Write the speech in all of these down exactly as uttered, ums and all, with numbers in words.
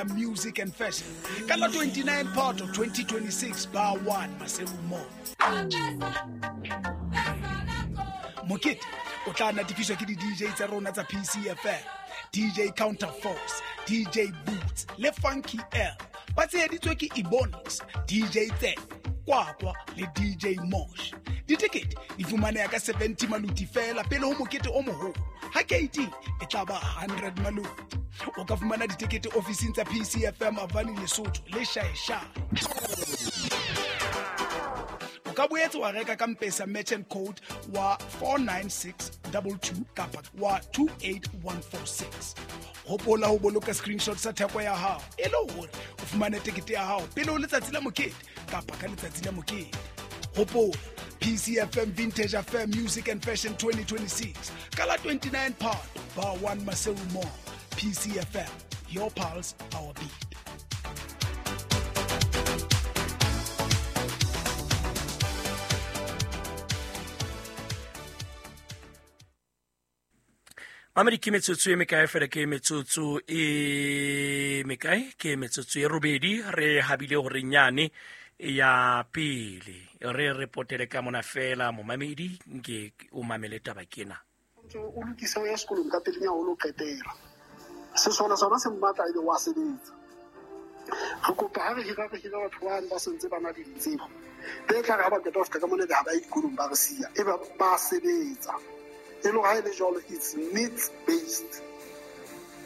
Music and Fashion ka la twenty-nine Phato twenty twenty-six bar one Maseru Mall. Mokete o tla natefiswa ke di D J tsa rona tsa P C F M, D J Counterforce, D J Boots le Funky L. Ba tsheheditswe ke Ebonics, D J Tse, Kwakwa le D J Mosh. Ditekete di fumaneha ka seventy maluti fela pele ho mokete o moholo. Ha K T e tla ba hundred maluti. O ka fumana ditekete ofising tsa P C F M Avani Lesotho le Shaeshae. O ka boetse wa reka ka M-Pesa merchant code wa four nine six two two kapa wa two eight one four six. Hopola ho boloka screenshot sa theko ya hao e le hore o fumane tekete ya hao pele ho letsatsi la mokete kapa ka letsatsi la mokete. Hopola P C F M Vintage Affair Music and Fashion twenty twenty-six ka la twenty-nine Phato bar one Maseru Mall. P C F M, your pulse, our beat. Mamedi ke metsotso e mekae fela ke metsotso e mekae ke metsotso e robedi re habile hore nyane ya pele re repotele ka mona fela momamedi nke o mamele taba kena o lokisa ya sekolong ka pele nyana o lo qetela se sona sona se mmatla ebe wa sebetsa re kopa ha re hira re hira batho ba ba sentse ba na le ditsebo be tla re ha ba qeta ho fihla ka mona be ha ba ye dikolong ba re siya e ba ba sebetsa e le ha e le jwalo it's needs based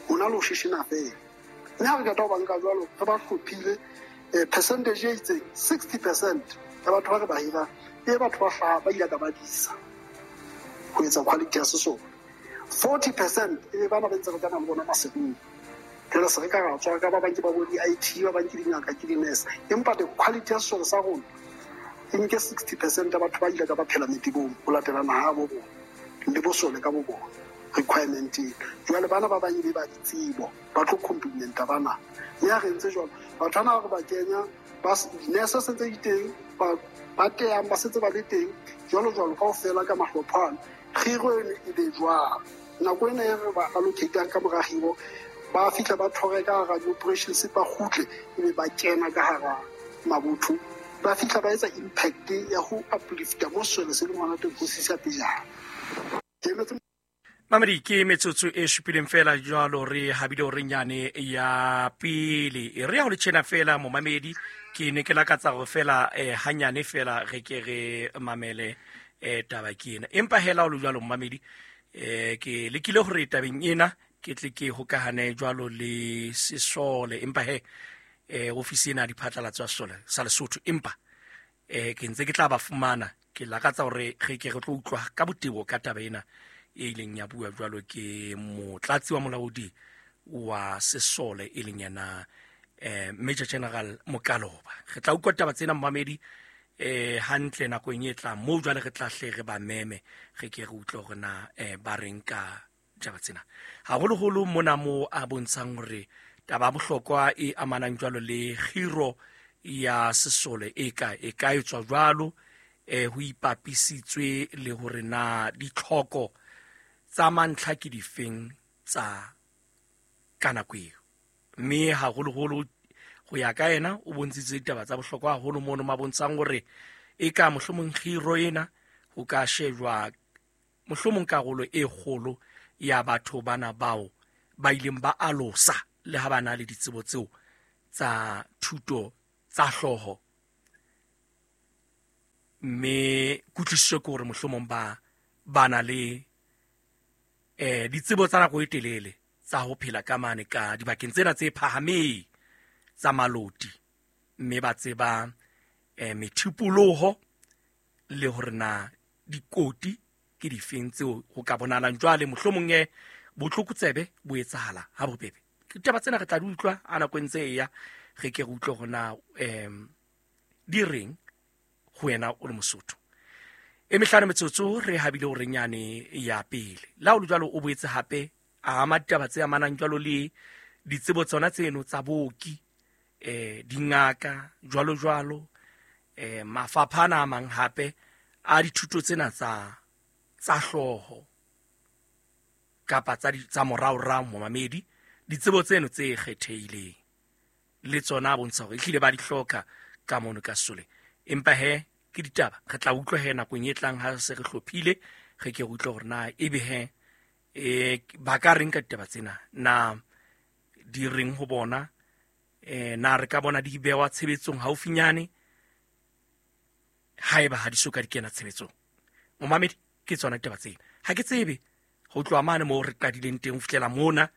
ho na le ho sheshena fela mme ha re qeta ho ba nka jwalo re ba hlophile percentage e itseng sixty percent ya batho ba re ba hirang e batho ba hlaha ba ile ka ba disa ho etsa quality ya sesolo forty percent e bana ba ntse re tsana le bona masekong jwale se re ka ra tswa ka ba bang ke ba bo di-I T ba bang ke dingaka ke di-nurse empa the quality ya sesolo sa rona e nke sixty percent ya batho ba ile ka ba phela metebong ho latela naha bo bona le bosole ka bo bona requirement eno jwale bana ba bang e be ba ditsebo ba tlo complementa bana mme ha re ntse jwalo batho bana ba re ba kenya ba di-nurse se ntse di teng ba ba teyang ba setse ba le teng jwalo jwalo kaofela ka mahlopha ano kgiro eno e be jwalo nako ena e re ba allocatang ka mora kgiro ba fihla ba thore ka hara di-operations ba kgutle ebe ba kena ka hara mabotho ba fihla ba etsa impact ya ho uplifta mo sesole se leng hona teng ho sisa pejana. Mamedi ke metsotso e supileng fela jwalo re habile hore nyane ya pele e re ya ho le tjena fela momamedi ke ne ke lakatsa hore fela eh, hanyane fela re ke re mamele eh, taba ke ena empa hela o le jwalo momamedi eh, ke lekile hore tabeng ena ke tle ke hokahane jwalo le sesole empa he eh, ofisi ena ya diphatlalatso ya sesole sa Lesotho empa eh, ke ntse ke tla ba fumana ke lakatsa hore re ke re tlo utlwa ka botebo ka taba ena e ileng ya bua jwalo ke motlatsi wa molaodi wa sesole e leng yena eh, Major General Mokaloba. Re tla utlwa taba tsena momamedi eh, hantle nakong e tlang moo jwale re tla hle re ba meme re ke re utlwe hore na eh, ba reng ka taba tsena haholoholo mona mo a bontshang hore taba ya bohlokwa e amanang jwalo le kgiro ya sesole e ka e ka etswa jwalo eh, ho ipapisitswe le hore na ditlhoko tsa mantlha ke difeng tsa ka nako eo mme haholoholo ho ya ka yena o bontshitse ditaba tsa bohlokwa haholo mono ma bontshang hore e ka mohlomong kgiro ena ho ka shejwa mohlomong karolo e kgolo ya batho bana bao ba ileng ba alosa le ha ba na le ditsebo tseo tsa thuto tsa hlooho mme kutlwisiso ke hore mohlomong ba ba na le eh ditsebo tsa nako e telele tsa ho phela ka mane ka dibakeng tsena tse phahameng tsa maloti mme ba tseba eh methipoloho le hore na dikoti ke difeng tseo ho ka bonalang jwale mohlomong e botlokotsebe bo etsahala ha bobebe. Ditaba tsena re tla di utlwa a nako e ntse e ya re ke re utlwe hore na em di reng ho wena o le Mosotho. E mehlano metsotso re habile hore nyane ya pele la o le jwalo o boetse hape a ama ditaba tse amanang jwalo le ditsebo tsona tseno tsa booki eh dingaka jwalo jwalo eh mafapha ana a mang hape a dithuto tsena tsa tsa hlooho kapa tsa tsa moraorao momamedi ditsebo tseno tse kgethehileng. Le tsona a bontsha hore ehlile ba di hloka ka mono ka Sesoleng. Empa he ke ditaba re tla utlwa he nakong e tlang ha se re hlophile, re ke re utlwe hore na ebe he eh ba ka reng ka ditaba tsena, na di reng ho bona, eh na re ka bona di bewa tshebetsong haufinyane haeba ha di soka di kena tshebetsong. Momamedi, ke tsona ditaba tsena. Ha ke tsebe ho tloha mane moo re qadileng teng ho fihlela mona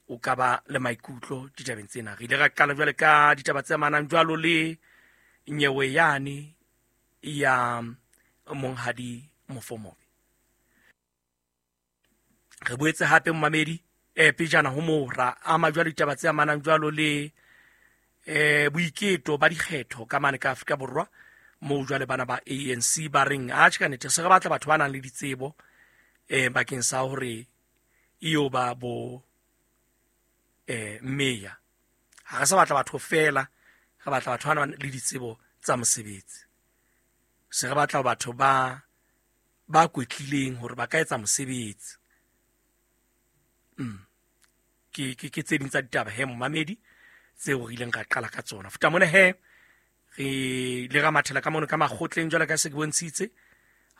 o ka ba le maikutlo ditabeng tsena. Re ile ra qala jwale ka ditaba tse amanang jwalo le nyewe yane ya monghadi Mofomobe. Re boetse hape momamedi eh pejana ho moo ra ama jwalo ditaba tse amanang jwalo le eh boiketo ba dikgetho ka mane ka Afrika Borwa, moo jwale bana ba A N C ba reng atjhe ka nnete se re batla batho ba nang le ditsebo eh bakeng sa hore iyo ba bo eh meya. Ha re sa batla batho fela, re batla batho ba nang le ditsebo tsa mosebetsi. Se re batla batho ba ba kwetlileng hore ba ka etsa mosebetsi. Mm. Ke ke ke tse ding tsa ditaba he momamedi tseo re ileng ra qala ka tsona. Futa mona he re le ra mathela ka mono ka makgotleng jwalo ka se ke bontshitse,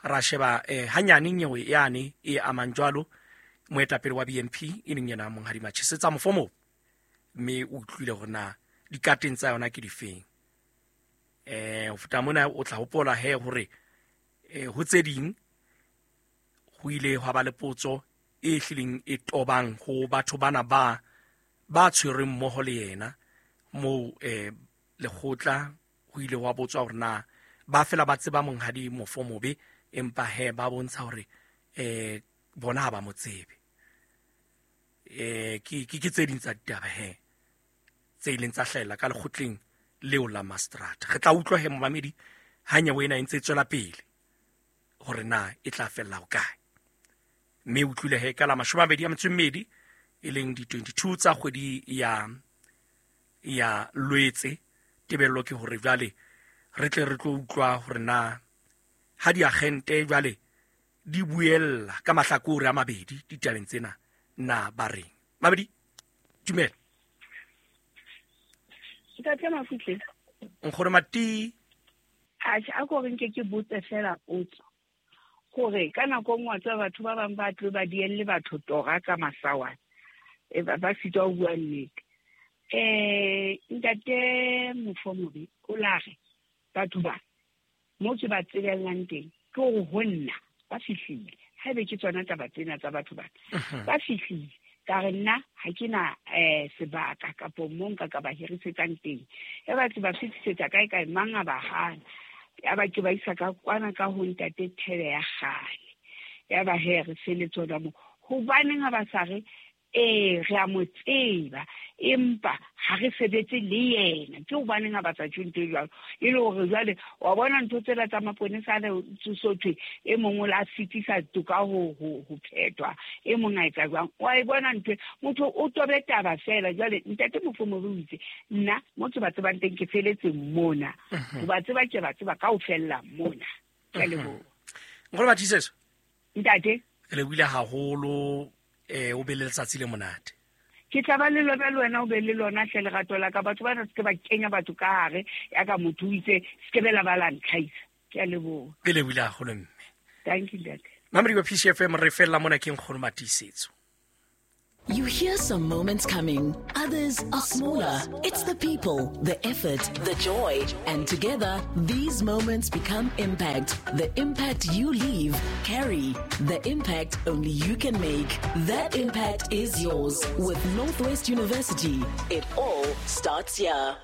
ra sheba eh hanyane nyewe yane e amang jwalo moetapele wa B N P e leng yena monghadi Machesetsa Mofomobe, mme o utlwile hore na dikateng tsa yona ke difeng. Eh ho futa mona o tla hopola he hore eh ho tse ding ho ile hwa ba le potso e hlileng e tobang ho batho bana ba ba tshwereng mmoho le yena moo eh lekgotla ho ile wa botswa hore na ba fela ba tseba monghadi Mofomobe, empa he ba bontsha hore eh bona ha ba mo tsebe. Eh ke ke tse ding tsa ditaba he tse ileng tsa hlahella ka lekgotleng leo la Mastrata. Re tla utlwa he momamedi ha nyewe ena e ntse e tswela pele hore na e tla fella ho kae. Mme utlwile he ka la mashome a mabedi a metso e mmedi e leng di twenty-two tsa kgwedi ya ya Lwetse, tebello ke hore jwale re tle re tlo utlwa hore na ha diagente jwale di buella ka mahlakore a mabedi ditabeng tsena na ba reng. Mabedi, dumela. Ntate Mafutle. Nkgono Mati. Atjhe, a ko re nke ke botse fela potso. Hore ka nako nngwe tsa batho ba bang ba tlo ba dielle batho tora ka masawana. E ba ba sitwa ho bua nnete. Eh ntate Mofomobe o la re batho ba mo ke ba tsebellang teng ke hore ho nna ba fihlile. Haebe ke tsona taba tsena tsa batho ba ba fihlile, ka re nna ha ke na eh sebaka kapo mo nka ka ba hirisetsang teng. E ba tse ba fihlisetsa kae kae mang a ba hana. Ya ba ke ba isa ka kwana ka ho ntate Thebe ya kgale. Ya ba he re feletse mo. Hobaneng ha ba sa re eh re a mo tseba empa ha re sebetse le yena? Ke hobaneng ha ba sa tjho ntho e jwalo? E le hore jwale wa bona ntho tsela tsa maponesa le tsosothwe e mong o la fetisa toka ho ho ho phethwa, e mong a etsa jwang? Wa e bona ntho motho o tobe taba fela. Jwale ntate Mofomobe o itse nna mo ke ba tsebang teng ke feletse mona, ho ba tseba ke ba tseba kaofela mona. Ke a leboha. Nkgono Matiisetso. Ntate, re lebohile haholo. Eh o be le letsatsi le monate. Ke tla ba le lona le wena o be le lona hle lerato la ka. Batho bana se ke ba kenya batho ka hare ya ka motho o itse se ke bela ba la ntlhaisa. Ke a leboha. Ke lebohile haholo mme. Thank you ntate. Mamedi wa P C F M re fella mona ke Nkgono Matiisetso. You hear some moments coming, others are smaller. It's the people, the effort, the joy. And together, these moments become impact. The impact you leave, carry. The impact only you can make. That impact is yours. With Northwest University, it all starts here.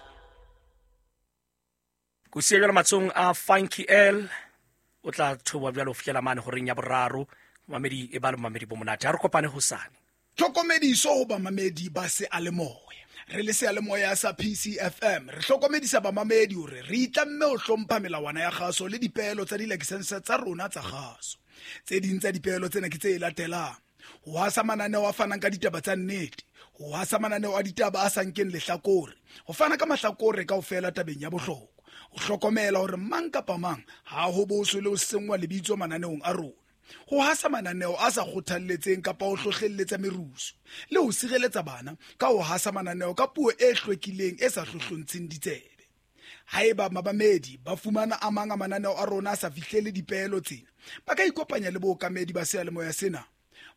Kusiya jwalo matsohong a Funky L, o tla thoba jwalo ho fihlela mane horeng ya boraro. Mamedi e ba le mamedi bo monate. Ha re kopane hosane. Tlhokomediso ho bamamedi ba seyalemoya. Re le seyalemoya sa P C F M re hlokomedisa bamamedi hore re itlamme ho hlompha melawana ya kgaso le dipeelo tsa dilakesense tsa rona tsa kgaso. Tse ding tsa dipeelo tsena ke tse latelang: ho hasa mananeo a fanang ka ditaba tsa nnete, ho hasa mananeo a ditaba a sa nkeng lehlakore, ho fana ka mahlakore kaofela tabeng ya bohlokwa, ho hlokomela hore mang kapa mang ha ho boswe le ho senngwa lebitso mananeong a rona, ho hasa mananeo a sa kgothalletseng kapa ho hlohlelletsa merusu, le ho sireletsa bana ka ho hasa mananeo ka puo e hlwekileng e sa hlohlontsheng ditsebe. Haeba mamamedi ba fumana a mang a mananeo a rona a sa fihlele dipeelo tsena, ba ka ikopanya le bookamedi ba seyalemoya sena.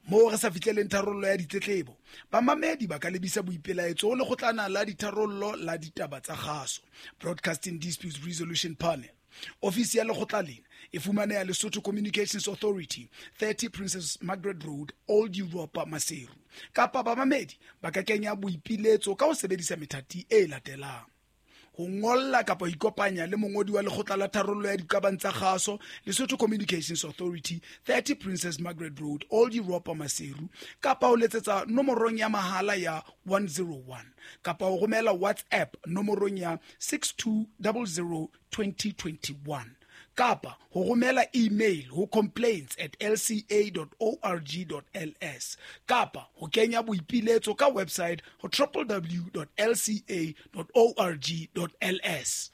Moo re sa fihleleng tharollo ya ditletlebo, bamamedi ba ka lebisa boipelaetso ho Lekgotlana la Ditharollo la Ditaba tsa Kgaso, Broadcasting Disputes Resolution Panel. Ofisi ya lekgotla lena e fumaneha Lesotho Communications Authority, thirty Princess Margaret Road, Old Europa, Maseru. Kapa bamamedi ba ka kenya boipiletso ka ho sebedisa methati e latelang: ho ngolla kapa ho ikopanya le mongodi wa Lekgotla la Tharollo ya Diqabang tsa Kgaso, Lesotho Communications Authority, thirty Princess Margaret Road, Old Europa, Maseru, kapa ho letsetsa nomorong ya mahala ya one zero one, kapa ho romela WhatsApp nomorong ya six two zero zero twenty twenty-one, kapa ho romela email ho complaints at l c a dot org dot l s, kapa ho kenya boipiletso ka website ho w w w dot l c a dot org dot l s.